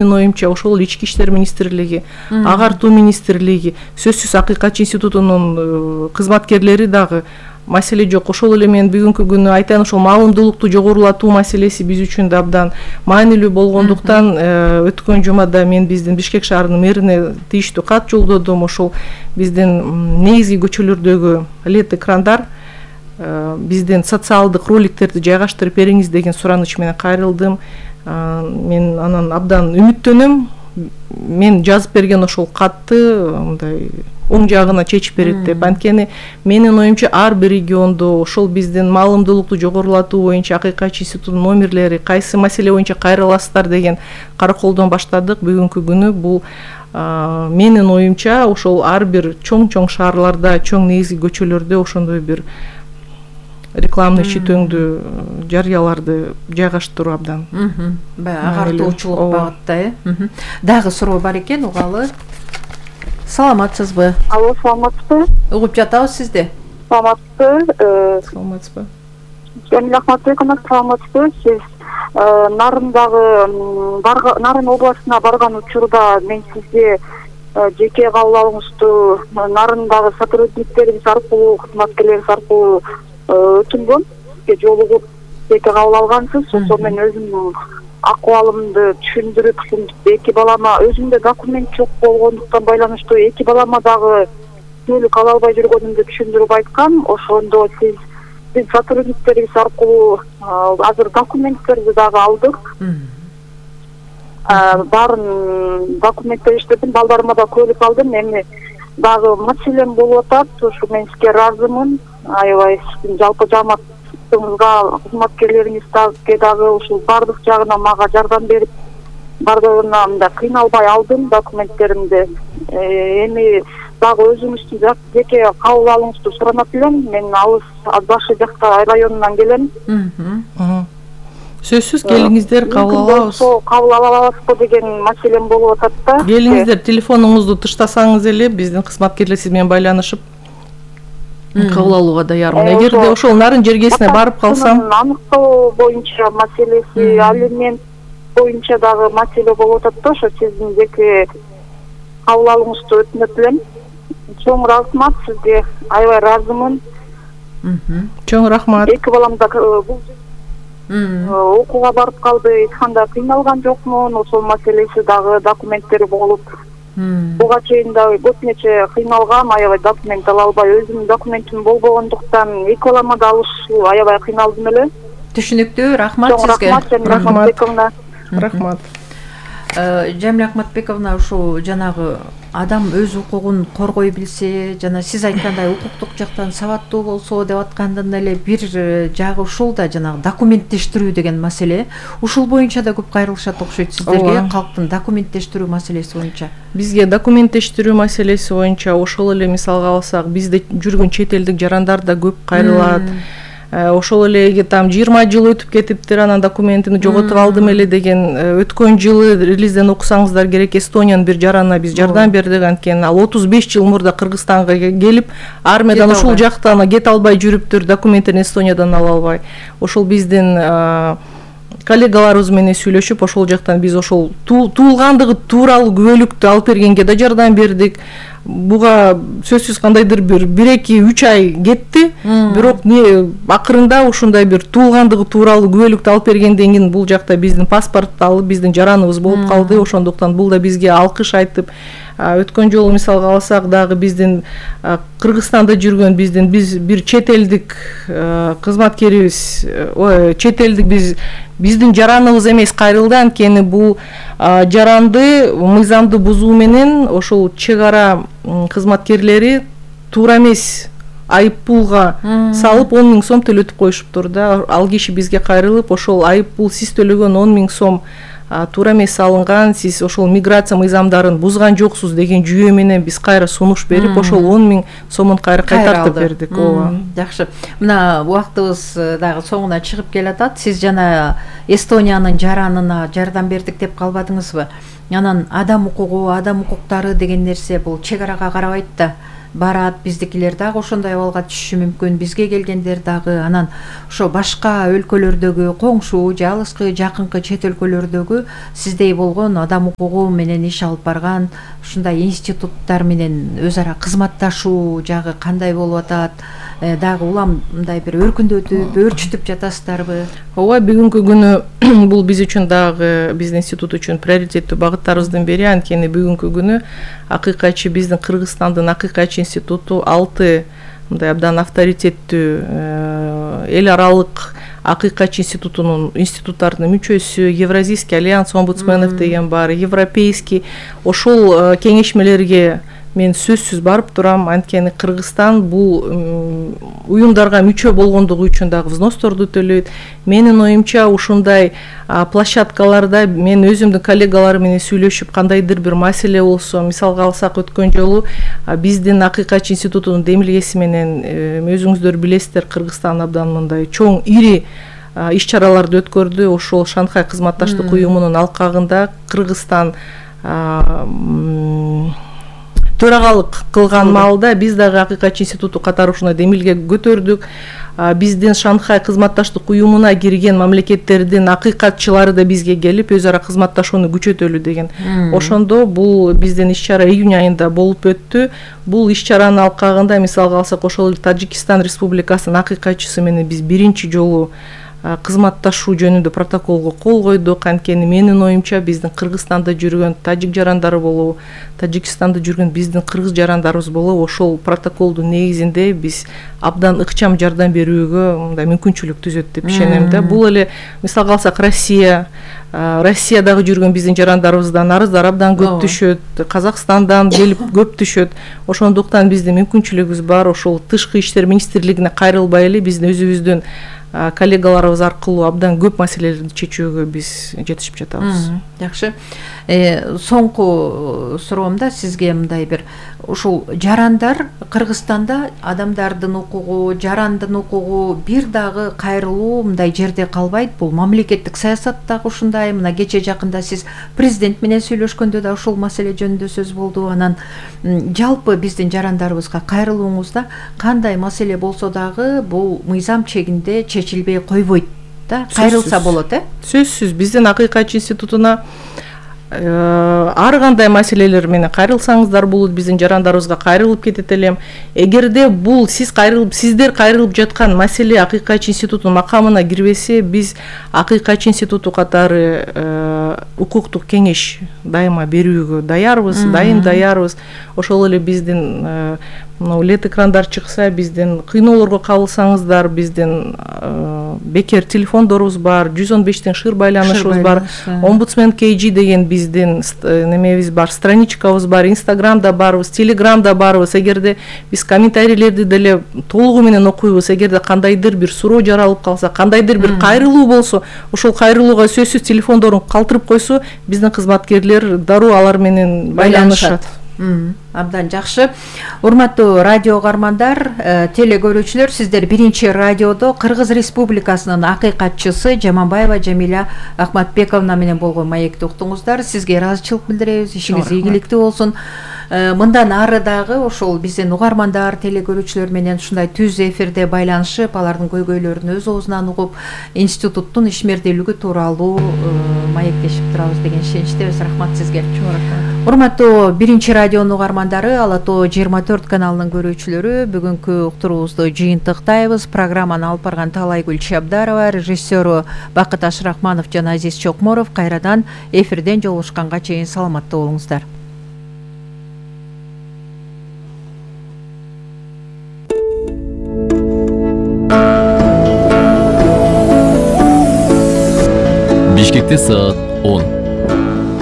Менин оюмча ошол ички иштер министрлиги, агартуу министрлиги, сөзсүз акыйкатчы институтунун кызматкерлери дагы маселе жок. Ошол эле мен бүгүнкү күнү айтайын, ошол маалымдуулукту жогорулатуу маселеси биз үчүн да абдан маанилүү болгондуктан өткөн жумада мен биздин Бишкек шаарынын мэрине тийиштүү кат жолдодум. Ошол биздин негизги көчөлөрдөгү LED экрандар биздин социалдык роликтерди жайгаштырып бериңиз деген сураныч менен кайрылдым. Мен анан абдан үмүттөнөм. Мен жазып берген ошол катты мындай оң жагына чечип берет деп. Анткени менин оюмча ар бир региондо ошол биздин маалымдуулукту жогорулатуу боюнча акыйкатчы институтунун номерлери, кайсы маселе боюнча кайрыласыздар деген караколдон баштадык. Бүгүнкү күнү бул менин оюмча ошол ар бир чоң шаарларда, чоң негизги көчөлөрдө ошондой бир рекламный читөңдү жарыяларды жайгаштыруу абдан. Баягы агартуучулук багытта, Дагы суроо бар экен, угалы. Саламатсызбы? Алло, саламатсызбы? Угуп жатабыз сизди. Саламатсызбы? Жамиля Ахматбековна, саламатсызбы? Сиз Нарын областына барган учурда мен сизге жеке кабыл Нарындагы сотрудниктерибиз аркылуу, кызматкерлерибиз аркылуу өтүнгөн, сизге жолугуп жеке кабыл алгансыз. Ошол мен өзүмдүн акыбалымды түшүндүрүп, эки балама өзүмдө документ жок болгондуктан байланыштуу эки балама дагы түнөлүк ала албай жүргөнүмдү түшүндүрүп айткам. Ошондо биз сотрудниктерибиз аркылуу азыр документтерди дагы алдык. Баарын документтер иштедим, балдарыма да көлүк алдым. Эми дагы маселем болуп атат. Ошо мен сизге ыраазымын. Аябай сиздин жалпы жамаатыңызга, кызматкерлериңизге дагы ушул бардык жагынан мага жардам берип, бардыгына мындай кыйналбай алдым документтеримди. Эми дагы өзүңүздүн жеке кабыл алууңузду суранат элем. Мен алыс башы жакта районунан келем. Сөзсүз келиңиздер, кабыл алабыз. Кабыл ала аласызбы деген маселем болуп атат да. Келиңиздер, телефонуңузду тыштасаңыз эле биздин кызматкерлер сиз менен байланышып кабыл алууга даярмын. Эгерде ошол Нарын жергесине барып калсам, аныктоо боюнча маселеси, алимент боюнча дагы маселе болуп атат да. Ошо сиздин жеке кабыл алууңузду өтүнөт элем. Чоң рахмат сизге, аябай ыраазымын. Чоң рахмат. Эки балам да окууга барып калды, эч кандай кыйналган жокмун. Ошол маселеси дагы документтери болуп, буга чейин да көп нече кыйналгам, аябай документ ала албай, өзүмдүн документим болбогондуктан эки балама да алышуу аябай кыйналдым эле. Түшүнүктүү, рахмат сизге. Рахмат. Рахмат. Жамиля Ахматбековна, ушул жанагы адам өз укугун коргой билсе, жана сиз айткандай укуктук жактан сабаттуу болсо деп аткандан эле бир жагы ушул да жанагы документтештирүү деген маселе. Ушул боюнча да көп кайрылышат окшойт сиздерге, калктын документтештирүү маселеси боюнча. Бизге документтештирүү маселеси боюнча ошол эле мисалга алсак, бизде жүргөн чет элдик жарандар да көп кайрылат. Ошол эле там 20 жыл өтүп кетиптир, анан документимди жоготуп алдым эле деген. Өткөн жылы релизден окусаңыздар керек, Эстониянын бир жаранына биз жардам бердик. Анткени ал 35 жыл мурда Кыргызстанга келип, армиядан ушул жактан кете албай жүрүптүр, документтерин Эстониядан ала албай. Ошол биздин коллегаларыбыз менен сүйлөшүп, ошол жактан биз ошол туулгандыгы тууралуу күбөлүктү алып бергенге да жардам бердик. Буга сөзсүз кандайдыр бир 1-2-3 ай кетти, бирок акырында ушундай бир туулгандыгы тууралуу күбөлүктү алып бергенден кийин бул жакта биздин паспортту алып, биздин жараныбыз болуп калды. Ошондуктан бул да бизге алкыш айтып, өткөн жолу мисалга алсак дагы биздин Кыргызстанда жүргөн бир чет элдик кызматкерибиз, чет элдик биздин жараныбыз эмес кайрылды. Анткени бул жаранды мыйзамды бузуу менен ошол чек ара кызматкерлери туура эмес айып пулга салып 10 000 сом төлөтүп коюшуптур да. Ал киши бизге кайрылып, ошол айып пул сиз төлөгөн 10 000 сом туура эмес салынган, сиз ошол миграция мыйзамдарын бузган жоксуз деген жүйө менен биз кайра сунуш берип, ошол 10 000 сомун кайра кайтартып бердик. Жакшы. Мына убактыбыз дагы соңуна чыгып келатат. Сиз жана Эстониянын жаранына жардам бердик деп калбадыңызбы? Анан адам укугу, адам укуктары деген нерсе бул чек арага карабайт да. барат, биздикилер дагы ошондой абалга түшүшү мүмкүн, бизге келгендер дагы, анан ошо башка өлкөлөрдөгү коңшу же алыскы жакынкы чет өлкөлөрдөгү сиздей болгон адам укугу менен иш алып барган ушундай институттар менен өз ара кызматташуу жагы кандай болуп атат, дагы улам мындай бир өркүндөтүп, өөрчүтүп жатасыздарбы? Ооба, бүгүнкү күнү бул биз үчүн дагы, биздин институт үчүн приоритеттүү багыттарыбыздын бири. Анткени бүгүнкү күнү акыйкатчы биздин Кыргызстандын акыйкатчы институту 6 мындай абдан авторитеттүү эл аралык акыйкатчы институттардын мүчөсү, Евразийский альянс омбудсменов деген бар, европейский, ошол кеңешмелерге мен сөзсүз барып турам. Анткени Кыргызстан бул уюмдарга мүчө болгондугу үчүн дагы взносторду төлөйт. Менин оюмча ушундай площадкаларда мен өзүмдүн коллегаларым менен сүйлөшүп, кандайдыр бир маселе болсо, мисалга алсак, өткөн жолу биздин акыйкатчы институтунун демилгеси менен өзүңүздөр билесиздер, Кыргызстан абдан мындай чоң, ири иш чараларды өткөрдү. Ошол Шанхай кызматташтык уюмунун алкагында Кыргызстан төрагалык кылган маалда биз дагы акыйкатчы институту катары ушундай демилге көтөрдүк. Биздин Шанхай кызматташтык уюмуна кирген мамлекеттердин акыйкатчылары да бизге келип өз ара кызматташууну күчөтөлү деген. Ошондо бул биздин иш чара июнь айында болуп өттү. Бул иш чаранын алкагында мисалга алсак, ошол Тажикстан Республикасынын акыйкатчысы менен биз биринчи жолу кызматташуу жөнүндө протоколго кол койдук. Анткени менин оюмча биздин Кыргызстанда жүргөн тажик жарандары болобу, Тажикстанда жүргөн биздин кыргыз жарандарыбыз болобу, ошол протоколдун негизинде биз абдан ыкчам жардам берүүгө мындай мүмкүнчүлүк түзөт деп ишенем да. Бул эле мисалга алсак Россиядагы жүргөн биздин жарандарыбыздан арыздар абдан көп түшөт, Казакстандан келип көп түшөт. Ошондуктан биздин мүмкүнчүлүгүбүз бар. Ошол Тышкы иштер министрлигине кайрылбай эле биздин өзүбүздүн коллегаларыбыз аркылуу абдан көп маселелерди чечүүгө биз жетишип жатабыз. Жакшы. Соңку суроомда сизге мындай бир, ушул жарандар Кыргызстанда адамдардын укугу, жарандын укугу бир дагы кайрылуу мындай жерде калбайт. Бул мамлекеттик саясат дагы ушундай. Мына кече жакында сиз президент менен сүйлөшкөндө да ушул маселе жөнүндө сөз болду. Анан жалпы биздин жарандарыбызга кайрылууңузда кандай маселе болсо дагы бул мыйзам чегинде чечилбей койбойт да, кайрылса болот, Сөзсүз биздин акыйкатчы институтуна ар кандай маселелер менен кайрылсаңыздар болот, биздин жарандарыбызга кайрылып кетет элем. Эгерде бул сиздер кайрылып жаткан маселе акыйкатчы институтунун макамына кирбесе, биз акыйкатчы институту катары укуктук кеңеш дайыма берүүгө даярбыз. Ошол эле биздин лет экрандар чыкса, биздин кыйноолорго кабылсаңыздар, биздин бекер телефондорубуз бар, 115тен шыр байланышыбыз бар, омбудсмен KG деген биздин немебиз бар, страничкабыз бар, Инстаграмда барбыз, Телеграмда барбыз. Эгерде биз комментарийлерди деле толугу менен окуйбуз. Эгерде кандайдыр бир суроо жаралып калса, кандайдыр бир кайрылуу болсо, ошол кайрылууга сөзсүз телефондорун калтырып койсо, биздин кызматкерлер дароо алар менен байланышат. Абдан жакшы. Урматтуу радио угармандар, теле көрүүчүлөр, сиздер биринчи радиодо Кыргыз Республикасынын акыйкатчысы Жаманбаева Жамиля Ахматбековна менен болгон маекти уктуңуздар. Сизге ыраазычылык билдиребиз, ишиңиз ийгиликтүү болсун. Мындан ары дагы ошол биздин угармандар, теле көрүүчүлөр менен ушундай түз эфирде байланышып, алардын көйгөйлөрүн өз оозунан угуп, институттун ишмердүүлүгү тууралуу маектешип турабыз деген ишеничтебиз. Рахмат сизге. Урматтуу биринчи радионун угармандары, Ала Тоо 24 каналынын көрүүчүлөрү, бүгүнкү уктуруубузду жыйынтыктайбыз. Программаны алып барган Талайгүл Чабдарова, режиссеру Бакыт Ашрахманов жана Азиз Чокморов. Кайрадан эфирден жолугушканга чейин саламаттуу болуңуздар. Бишкекте саат 10.